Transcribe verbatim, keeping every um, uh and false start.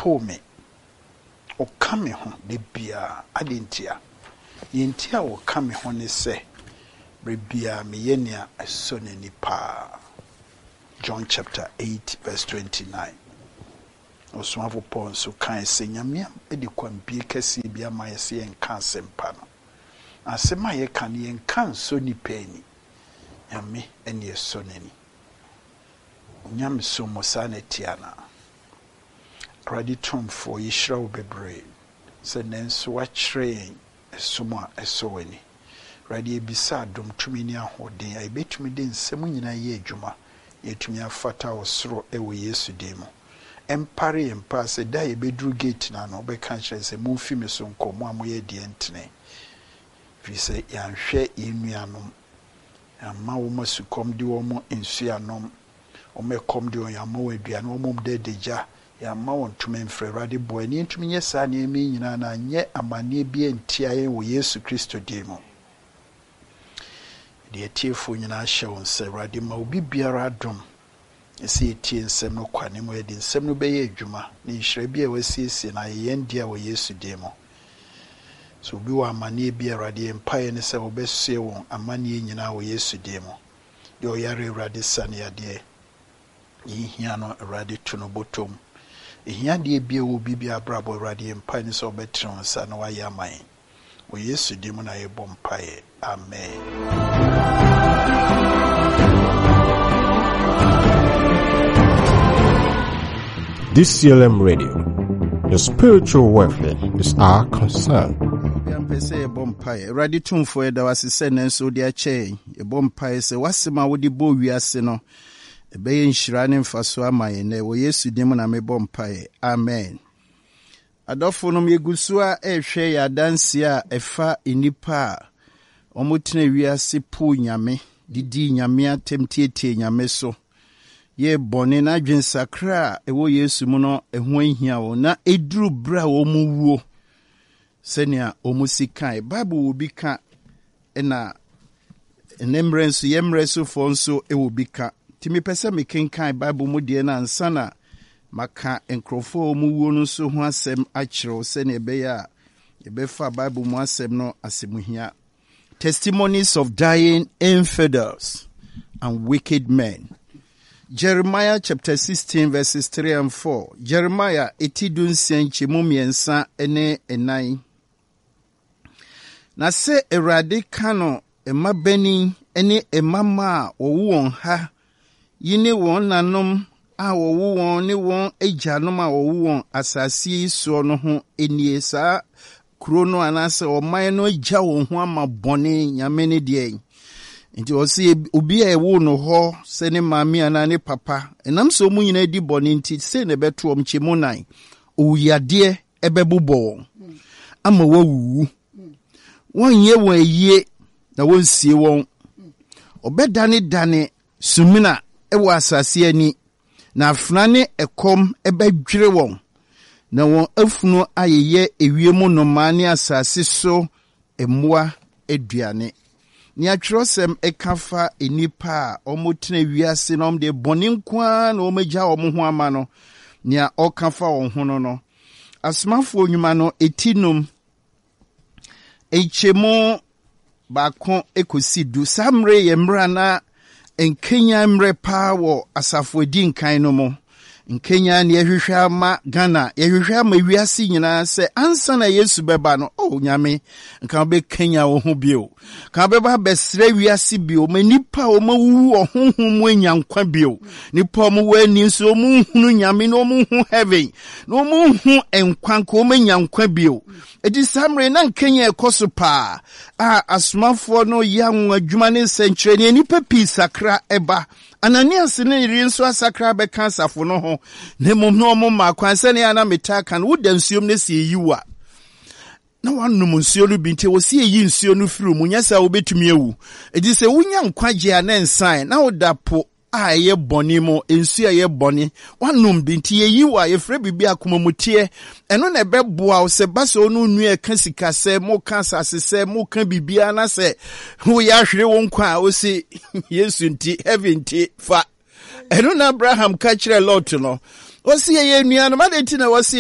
Ɔmpoo me. Ɔka me ho da biara. Adɛn ntia? Nea nti a ɔka me ho ne sɛ, berɛ biara meyɛ nea ɛsɔ n'ani paa. John chapter eight verse twenty-nine. Ɔsomafo Paul nso kae sɛ Nyame de kwanbie kɛseɛ bi ama yɛ sɛ yɛnka asɛmpa no. Asɛm a yɛka no, yɛnka nsɔ nnipa ani. Nyame ne ɛsɔ n'ani. Onyamesom mu saa na ɛte anaa? Awurade Tumfoɔ, yɛhyira wo bebree sɛ nanso woakyerɛ yɛn ɛsom a ɛsɔ w'ani. Awurade, yɛbisa adom, tumi ne ahoɔden a yɛbɛtumi de nsɛm nyinaa yɛ adwuma na yɛtumi afata wɔ soro ɛwɔ Yesu din mu. Ɛmpare yɛn paa sɛ da a yɛbɛduru gate no ano, wobɛka kyerɛ sɛ momfi me so nkɔ, mo a moyɛ deɛ ntene. Ɛfiri sɛ yɛanhwɛ yɛn nuanom, yɛamma wɔn asukɔm de wɔn nsuo anom, wɔn ɛkɔm de wɔn, yɛamma wɔn aduane, wɔn mom da adagya, yɛamma wɔn ntoma mfiri. Awurade, boa yɛn na yɛntumi nyɛ saa nneɛma yi nyinaa na anyɛ amanneɛ bi antia yɛn wɔ Yesu Kristo din mu. Deɛ atiefoɔ nyinaa hyɛ wɔn sɛ, Awurade, ma obi biara adom sɛ yɛtie nsɛm no kwa ne mu, yɛde nsɛm no bɛyɛ adwuma na nhyira bi a wɔasiesie no ayɛ yɛn dea wɔ Yesu din mu. Sɛ obi wɔ amanneɛ bi a, Awurade, yɛn mpaeɛ ne sɛ wɔbɛsoɛ wɔn amanneɛ nyinaa wɔ Yesu din mu. Deɛ ɔyare, Awurade, sa ne yadeɛ. Yɛhia no, Awurade, to no bɔtɔm. Ehia deɛ bi a ɛwɔ obi bi abrabɔ, Awurade, yɛn mpaeɛ ne sɛ wɔbɛtene wɔn nsa na wɔayɛ ama yɛn. Wɔ Yesu din mu na yɛbɔ mpaeɛ. Amen. D C L M Radio, your spiritual welfare is our concern. Yɛmpɛ sɛ yɛbɔ mpaeɛ. Awurade Tumfoɔ, yɛda wo ase sɛ nanso wode akyɛ yɛn. Yɛbɔ mpaeɛ sɛ w'asɛm a wode bɔɔ wiase no ɛbɛyɛ nhyira ne mfaso ama yɛn nɛ. Wɔ Yesu din mu na mebɔ mpaeɛ. Amen. Adɔfo nom, yɛgu so a ɛrehwɛ yɛ adanseɛ a ɛfa nnipa a wɔtena wiase poo Nyame, didi Nyame atɛm, tietie Nyame so, yɛ bɔne na adwensakra a ɛwɔ Yesu mu no ɛho ahia wɔn, na ɛduru berɛ a wɔn wuo sɛnea wɔn si kae. Bible wɔ bi ka, ɛna ɛnɛ mmerɛ nso yɛ mmerɛ sofoɔ nso wɔ bi ka. Nti mepɛ sɛ mekenkan Bible mu deɛ no ansa na maka nkurɔfoɔ a wɔn wuo no nso ho asɛm akyerɛw, sɛnea ɛbɛyɛ a yɛbɛfa Bible mu asɛm no asɛmuhia. Testimonies of dying infidels and wicked men. Jeremiah chapter sixteen verses three and four. Jeremiah eti dunsia nkyɛmu mmiɛnsa ne nnan. Na sɛ Awurade ka no mmabanin ne mmammaa a wɔwo wɔn ha yi ne wɔn nanom a wɔwo wɔn ne wɔn agyanom a wɔwo wɔn asase yi soɔ no ho nie: saa kuro no anaasɛ ɔman no agya wɔn ho ama bɔne, Nyame ne deɛ. Nti ɔsɛ obi a ɛwo no hɔ sɛ ne maame anaa ne papa, ɛnam sɛ ɔmu nyinaa di bɔne nti, sei na ɛbɛto ɔm. Nkyɛmu nan, owuyadeɛ ɛbɛbobɔ wɔn ama wɔawuwu, wɔnyɛ wɔn ayie na wɔnsie wɔn. Ɔbɛdanedane sumina ɛwɔ asase ani, na afena ne ɛkɔm ɛbɛdwere wɔn, na wɔn afunu ayeyɛ ewiem nnomaa ne asase so mmoa aduane. Nea twerɛsɛm ɛka fa nnipa a wɔtena wiase na wɔde bɔne nko ara na wɔagya wɔn ho ama no, nea ɔka fa wɔn ho no no Asomafoɔ Nnwuma no eti num nkyɛmu baako ekosi du. Saa mmerɛ yɛ mmerɛ na nkenya mmerɛ paa wɔ asafo edi nkan no mu. Nkenya ne yɛhwehwɛ ama Ghana, yɛhwehwɛ ama wiase nyinaa sɛ ansa na Yesu bɛba no, oh Nyame, nka wobɛkenya wo ho bio, ka wobɛba abɛsrɛ wiase bio ma nnipa a wɔawuwu wɔ honhom mu anya nkwa bio, nnipa a wɔwɔ ani nso wɔnhunu Nyame na wɔnhu heaven na wɔnhu nkwa, nka wɔmanya nkwa bio. Ɛti saa mmerɛ na nkenya ɛkɔ so paa a asomafoɔ no yɛ anwonwa adwuma ne nsɛnkyerɛnneɛ, nnipa pii sakra ɛba. Ananias ne yere nso asakra bɛka asafo no ho, na mmom na ɔmo ma kwan. Sɛnea na metaa ka no, woda nsuom no si eyi wo a na wanom nsuo no bi, nti wɔsi eyi nsuo no firi mu, nyɛ sɛ wobɛtumi awu. Eti sɛ wonya nkwagye a, ne nsan na woda po a ɛyɛ bɔne mu, nsuo a ɛyɛ bɔne wanom bi, nti yɛyi wo a, yɛfrɛ biribi akomamuteɛ. Ɛno na ɛbɛboa wo sɛ ba sɛ ɔno nua ɛka sika sɛ moka asase sɛ moka biribiara na sɛ woyɛ ahwere wo nkwa a, wosi Yesu nti, heaven nti fa. Ɛno na Abraham ka kyerɛ Lot no, wɔsi yɛyɛ nuanom, ade nti na wɔsi